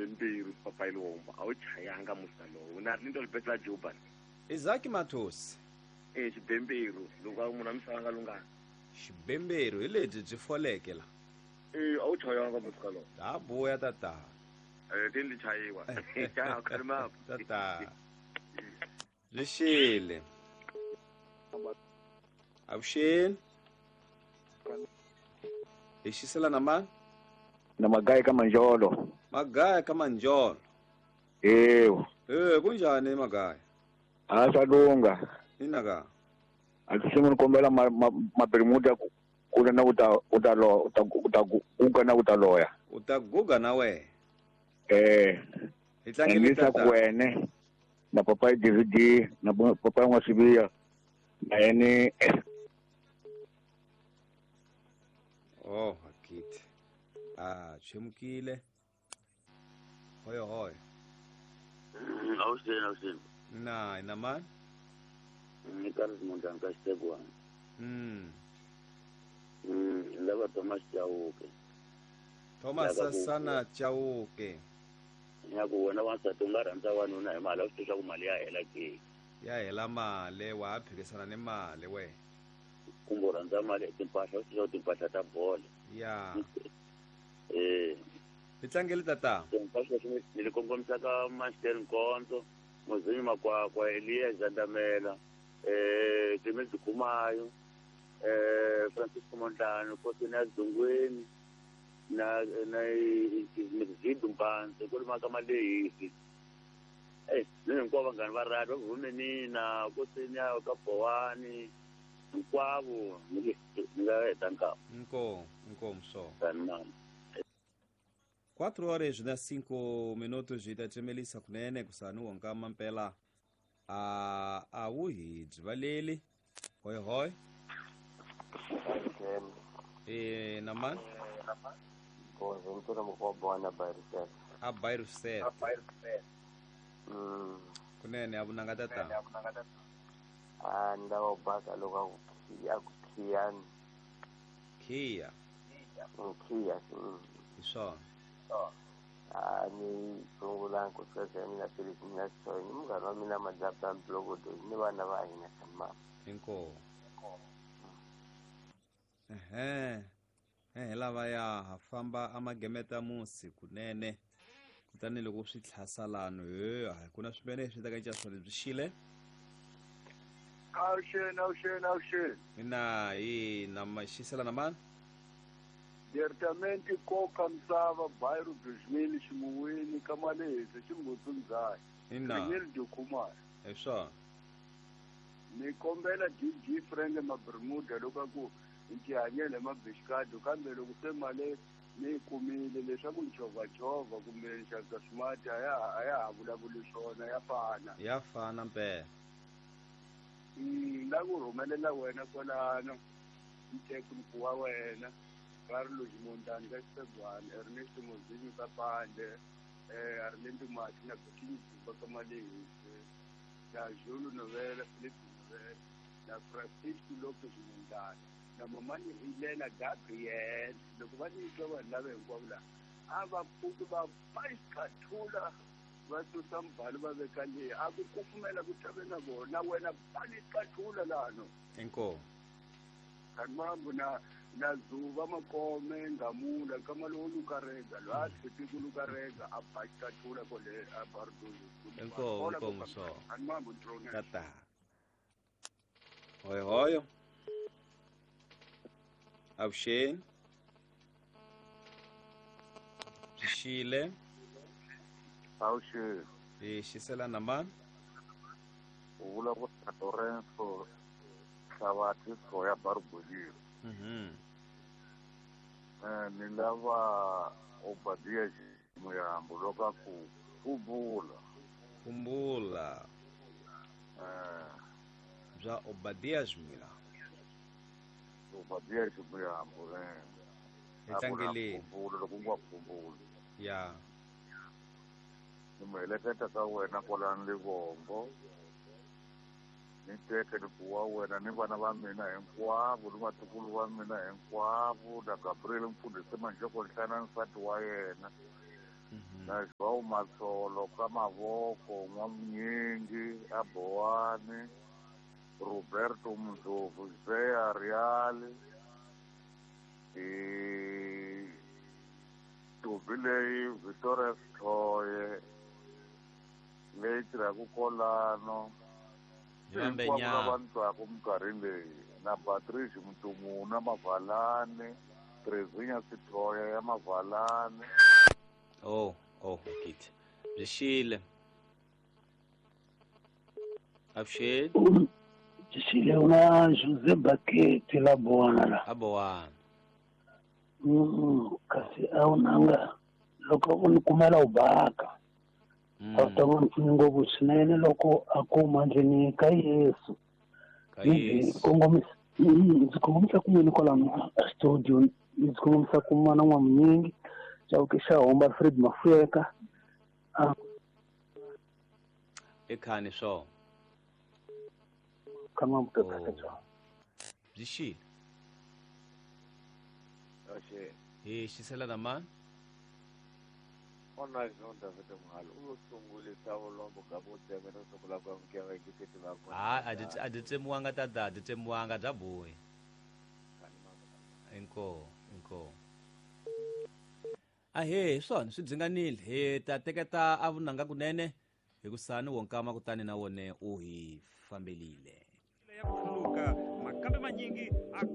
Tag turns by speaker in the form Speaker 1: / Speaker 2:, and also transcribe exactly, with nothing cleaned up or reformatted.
Speaker 1: Xibemberu papai lomba a wu chayanga musa lowu na ri ni ndolibetla Joban.
Speaker 2: Isaac Matos.
Speaker 1: Eh xibemberu loko munhu a misava nga lungana.
Speaker 2: Xibemberu hi lebyi byi foleke la.
Speaker 1: Eh a wu chayanga musa lowu.
Speaker 2: Ta buya tata.
Speaker 1: Eh tindi chayiwa. Cha khalima.
Speaker 2: Tata. Lexile. Avuxeni. Hi xisela na mani?
Speaker 3: Na Magaya ka Manjolo.
Speaker 2: Magaya ka Manjolo.
Speaker 3: Ewu.
Speaker 2: Eh kunjani Magaya?
Speaker 3: A swa lunga.
Speaker 2: Ina ka.
Speaker 3: A swi ni kombela mabirimuda ku na u ta u ta lo u ta u ta guga na u ta loya.
Speaker 2: U ta guga na we.
Speaker 3: Eh.
Speaker 2: Hi tlangele
Speaker 3: tata. Wene na papa D V D na papa N'wa-Sibiya na yene.
Speaker 2: Oh, akit. Ah, chemukile. Hoyo hoyo.
Speaker 4: Awuxeni, awuxeni.
Speaker 2: Na, ina mani?
Speaker 4: Ni Carlos Mondlane ka Xitegwana.
Speaker 2: Mm.
Speaker 4: Mm, lava Thomas Chauke.
Speaker 2: Thomas Sasana Chauke.
Speaker 4: Ya ku wena wansati u nga rhandza wanuna hi mali, a swi tiva ku mali ya hela ke.
Speaker 2: Ya hela mali, wa ha phikisana ni mali we.
Speaker 4: Kumbe u rhandza mali timpahla, u swi tiva timpahla ta bolo.
Speaker 2: Ya.
Speaker 4: Eh.
Speaker 2: Hi tlangele tata.
Speaker 4: Timpahla ni li kongomisa ka Master Nkonzo, Mozinyi Makwakwa, Elias Zandamela, eh Clement Kumayo, eh Francisco Mondlane, Kosina Zungweni, na na Mzidu Mpanze, ku ri maka Malehisi. Eh, ni hinkwavo vanghana va radio va Vumenina, Kosina ka Bowani, hinkwavo ni nga heta nkarhi.
Speaker 2: Inkomu, inkomu só.
Speaker 4: Sanmani.
Speaker 2: quatro horas na cinco minutos de tachemelisa kunene kusanu wonka mpela a a wu hi byivaleli. Hoi hoi. Eh naman.
Speaker 5: Ko ventura mo bona bairset.
Speaker 2: A bairset.
Speaker 5: Mm.
Speaker 2: Kunene abunanga tata.
Speaker 5: Ah ndawo baka loka ku khiya.
Speaker 2: Khiya.
Speaker 5: Khiya.
Speaker 2: Isona.
Speaker 5: Ah ni sungula ku sasa mina Felix mina so ni munghana wa mina Majapa Blogodo ni vana va hina sama.
Speaker 2: Inkomu. Ehe. Eh lava ya ha famba amagemeta musi kunene. Kutani loko swi tlhasalano he a ku na swimene swi ta ka xa swona byi xile.
Speaker 6: Awuxeni, awuxeni, awuxeni.
Speaker 2: Mina hi na maxisela na mani?
Speaker 6: Diretamente koka misava bairro dois mil ximuwini ka Malehisi Xingudzundzhayi.
Speaker 2: Ina.
Speaker 6: Ringeli Dyokhumari.
Speaker 2: Hi swona.
Speaker 6: Ni kombela D G Frank Mabermuda loko ku hi tihanyela hi mabixikadi kambe loko se mali ni yi kumile leswaku ni chovhachovha kumbe ni xavisa swimati a ya a ya ha vulavuli swona ya fana.
Speaker 2: Ya fana mpela.
Speaker 6: Mm, la ku rhumelela wena kwalano nteku wa wena Carlos Mondlane ka Xisegwana, Ernest Mozinyi ka Pande, eh Arlindo Mati na Bikini Dzumba ka Malehisi, na Julu Novela, Philip Novela, na Francisco Lopez Mondlane, na mamani Helena Gabriel. Loko va ni twa vanhu lava hinkwavo laha a va pfuki va paxikathula va susa mbhalo va veka leyi a ku kufumela ku tave na vona wena paxikathula lano.
Speaker 2: Inkomu.
Speaker 6: Kanmambu na na Zuva Makome Ngamula kamalo lukarega lo a tshepi lukarega a paxikathula kole a barduzu.
Speaker 2: Inkomu, inkomu so.
Speaker 6: Kanmambu drone.
Speaker 2: Tata. Hoi hoi. Avuxeni. Xile.
Speaker 7: Avuxeni.
Speaker 2: Hi xisela na mani?
Speaker 7: U vulavula Lorenzo Hlavatsi ya Barbolini.
Speaker 2: Mhm.
Speaker 7: Eh ni lava Obadia Muyambo loko ku kumbula.
Speaker 2: Kumbula.
Speaker 7: Eh
Speaker 2: bya Obadia Muyambo.
Speaker 7: Obadia Muyambo eh.
Speaker 2: Hi tlangeleni.
Speaker 7: Kumbula loko nga kumbula.
Speaker 2: Ya.
Speaker 7: Ni mu heleketa ka wena kwalano Livombo. Ni teke ni ku wa wena ni vana va mina hinkwavo ni vatukulu va mina hinkwavo na Gabriel mfundhisi Manjoko Nhlana nsati wa yena. Na João Matsolo ka mavoko N'wamunyingi a Bowani Roberto Mzovu Zea Real e Tobi leyi Victoria Sithoye leyi tirhaka kolano hinkwavo lava ni twaka minkarhi leyi na Patrice Mutumuna Mavalani Trezinya Sithoye ya Mavalani.
Speaker 2: Oh, oh, git. Byi xile. Avuxeni.
Speaker 8: Byi xile una Jose Baketi la Bowana la.
Speaker 2: A Bowana.
Speaker 8: Mm, kasi a wu nanga loko u ni kumela u baka. A wu ta va ni pfuni ngopfu swinene loko a kuma ndleni ka Yesu.
Speaker 2: Ka Yesu.
Speaker 8: Kongomisa ndzi kongomisa kun'wini kwalano a studio ndzi kongomisa kun'wana N'wamunyingi Chauke xa Homba Alfred Mafuyeka.
Speaker 2: I khani swona.
Speaker 8: Kama mutata bya.
Speaker 2: Byi xile. Hi xisela na mani?
Speaker 5: Ona Jean David Muhalo u sungulisa vulombo ka vutseme no sungula ku amukela gifiti va kona.
Speaker 2: Ha a dyi a dyi tsemiwanga tata, a dyi tsemiwanga bya bohi. Inkomu, inkomu. Ahee, hi swona swi dzinganile hi ta teketa a vunanga kunene hi ku sani wonkama kutani na wone u hi fambelile.
Speaker 9: Ya ku khuluka makambe manyingi a